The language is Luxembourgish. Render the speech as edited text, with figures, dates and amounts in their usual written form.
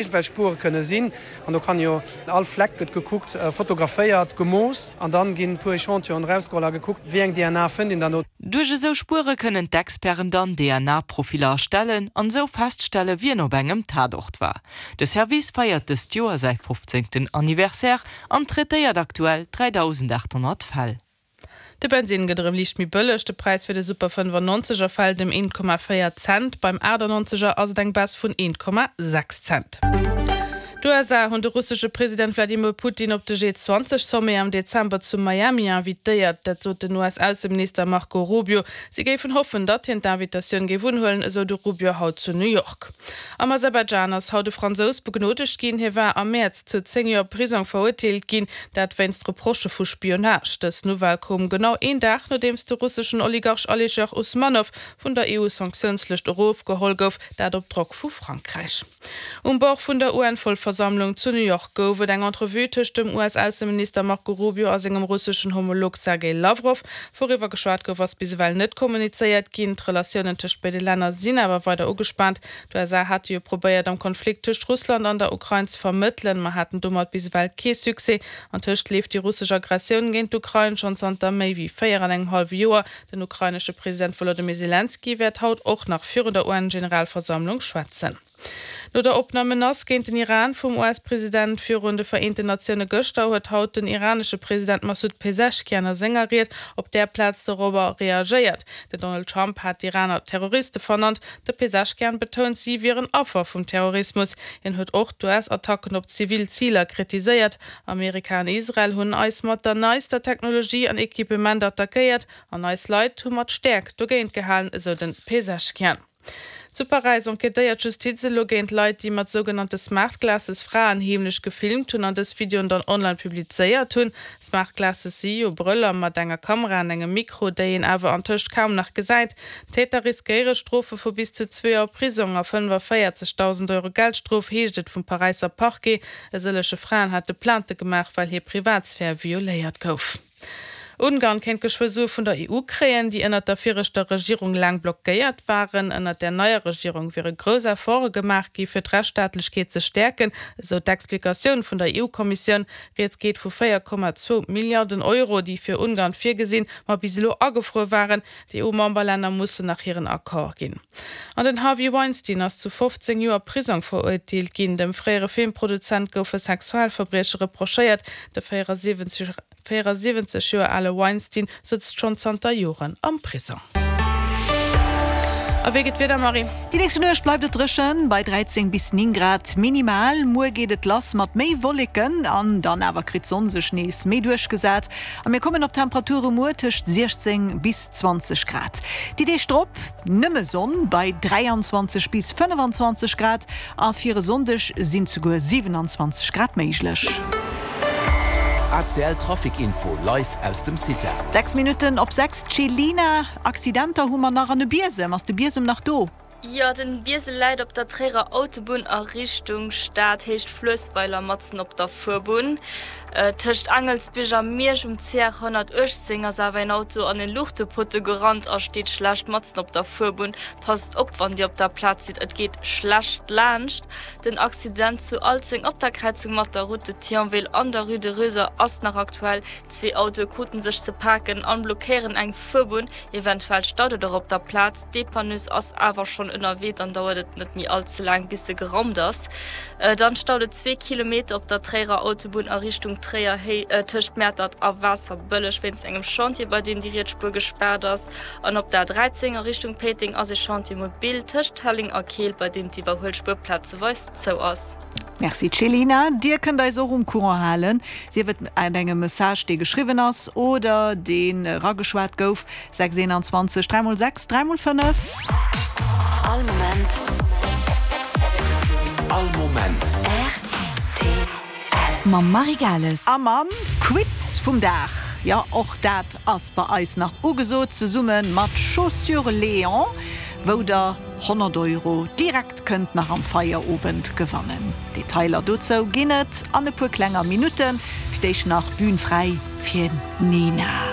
Iergendwelch Spuere kënne sinn. An do kann jo all Fleck gëtt gekuckt, fotograféiert, gemooss an dann ginn e puer Echantillonen erausgeholl a gekuckt, wéi eng DNA fënnt een dann do. Duerch esou Spuere kënnen d'Experten dann DNA-Profiller erstellen an esou feststelle wien op engem Tatort war. De Service feiert dëst Joer säi 15. Anniversaire an traitéiert aktuell 3.800 Fäll. De Bensinn gëtt erëm liicht méi bëlleg, de Präis fir de Super 95 er fält ëm 1,4 Cent, beim 98 er ass et eng Baisse vun 1,6 Cent. D'USA hunn de russesche President Wladimir Putin op de G20-Sommet am Dezember zu Miami invitéiert. Dat sot den US-Ausseminister Marco Rubio. Si géifen hoffen, datt hien d'Invitatioun géif unhuelen, esou de Rubio haut zu New York. Am Aserbaidschan ass haut e Fransous begnodegt ginn. Hie war am Mäerz zu 10 Joer Prisong verurteelt ginn, dat wéinst Reprochë vu Spionage. Dës Nouvelle koum genau een Dag, nodeems de russeschen Oligarch Alisher Usmanow vun der EU-Sanktiounslëscht erofgeholl gouf, dat op Drock vu Frankräich. Um Bord vun der UN-Vollversammlung zu New York gouf et eng Entrevue tëscht dem US-Ausseminister Marco Rubio a sengem russeschen Homolog Sergej Lawrow. Wouriwwer geschwat gouf, ass bis ewell net kommunizéiert ginn. D'Relatiounen tëscht béide Länner sinn awer weider ugespaant. D'USA hate jo probéiert, am Konflikt tëscht Russland an der Ukrain ze vermëttelen, ma haten domat bis ewell kee Succès. Antëscht leeft déi russesch Aggressioun géint d'Ukrain schonn zanter méi wéi 4 an engem hallwe Joer. Den ukrainesche President Wolodymyr Selenskyj wäert haut och nach virun der UN-Generalversammlung schwätzen. No der oppener Menace géint den Iran vum US-President virun de Vereenten Natioune gëschter, huet haut den iranesche President Massoud Peseschkian a senger Ried op där Plaz dorobber reagéiert. Den Donald Trump hat d'Iraner Terroriste vernannt. De Peseschkian betount, si wieren Affer vum Terrorismus. Hien huet och d'US-Attacken op zivil Ziler kritiséiert. Amerika an Israel hunn eis mat der neister Technologie an Equipement attackéiert an eis Leit hu mat Stäerkt dogéint gehalen, esou de Peseschkian. Zu Paräis enquêtéiert d'Justiz elo géint Leit, déi mat sougenannte Smart Glasses Fraen heemlech gefilmt hunn an dës Videoen dann online publizéiert hunn. Smart Glasses si jo Brëller mat enger Kamera an engem Mikro, déi een awer antëscht kaum nach gesäit. D'Täter riskéiere Strofe vu bis zu zwee Joer Prisong a 45.000 Euro Geldstrof, heescht et vum Paräisser Parquet. E sëllege Fraen hate Plainte gemaach, well hir Privatsphär violéiert gouf. Ungarn kéint geschwë Sue vun der EU kréien, déi ënnert der viregter Regierung laang blockéiert waren. Ënnert där neier Regierung wiere grouss Efforte gemaach gi fir d'Rechtsstaatlechkeet ze stäerken, esou d'Explikatioun vun der EU-Kommissioun. Rieds geet vu 4,2 Milliarden Euro, déi fir Ungarn virgesinn, ma bis elo agefruer waren. D'EU-Memberlänner mussen nach hiren Accord ginn. An den Harvey Weinstein ass zu 15 Joer Prisong verurteelt ginn. Dem fréiere Filmproduzent goufe Sexualverbrieche reprochéiert. De 74. 74 Joer ale Weinstein sëtzt schonn zanter Joren am Prisong. A wéi gëtt d'Wieder, Marie? Déi nächste Nuecht bleift et dréchen, bei 13 bis 9 Grad minimal. Muer geet et lass mat méi Wolleken an dann awer kritt d'Sonn sech nees méi duerchgesat a mir kommen op Temperature muer tëscht 16 bis 20 Grad. Déi Deeg drop nëmme Sonn bei 23 bis 25 Grad A fir e Sonndeg sinn souguer 27 Grad méiglech. ACL Trafic Info live aus dem CITA. 6 Minutten op 6, Céline, Accidenter hu mer nach an e Biesem. Ass de Biesem nach do? Jo, den Biesel läit op der Tréierer Autobunn a Richtung Stad, Héicht Fluessweiler, matzen op der Fuerbunn. Tëscht Aangelsbierg a Miersch um CR 118 ass awer een Auto an en Luuchtepotto gerannt a steet schlecht matzen op der Fuerbunn. Passt op wann dir op der Plaz sidd, et geet schlecht laanscht. Den Accident zu Alzeng op der Kräizung mat der Route de Thionville an der Rue de Röser ass nach aktuell. Zwee Autoe kruten sech ze paken an blockéieren eng Fuerbunn. Eventuell staut et och op der Plaz. D'Dépanneuse ass awer schonn ënnerwee, dann dauert et net méi all ze laang bis se geraumt ass. Dann staut et zwee Kilometer op der Tréierer Autobunn a Richtung Tréier tëscht Mäertert a Waasserbëlleg wéinst engem Chantier, bei deem déi riets Spuer gespaart ass. An op der A 13 a Richtung Péiteng ass e Chantier mobil tëscht Helleng a Keel, bei deem d'Iwwerhuelspuer plazeweis zou ass. Merci Céline. Dir kënnt eis och um Courant halen, sief et mat engem Message dee geschriwwen ass oder deen erageschwat gouf, 6 21 3 x 6 3 x 5. All Moment. All Moment. Rtl. Mam Marie Gales. A mam Quiz vum Dag. Jo, och dat ass bei eis nach ugesot, zesumme mat Chaussures Léon, wou der 100 Euro direkt kënnt nach am Feierowend gewannen. Detailer dozou ginn et an e puer klenger Minutten. Fir d'éischt nach Bühn fräi fir Nena.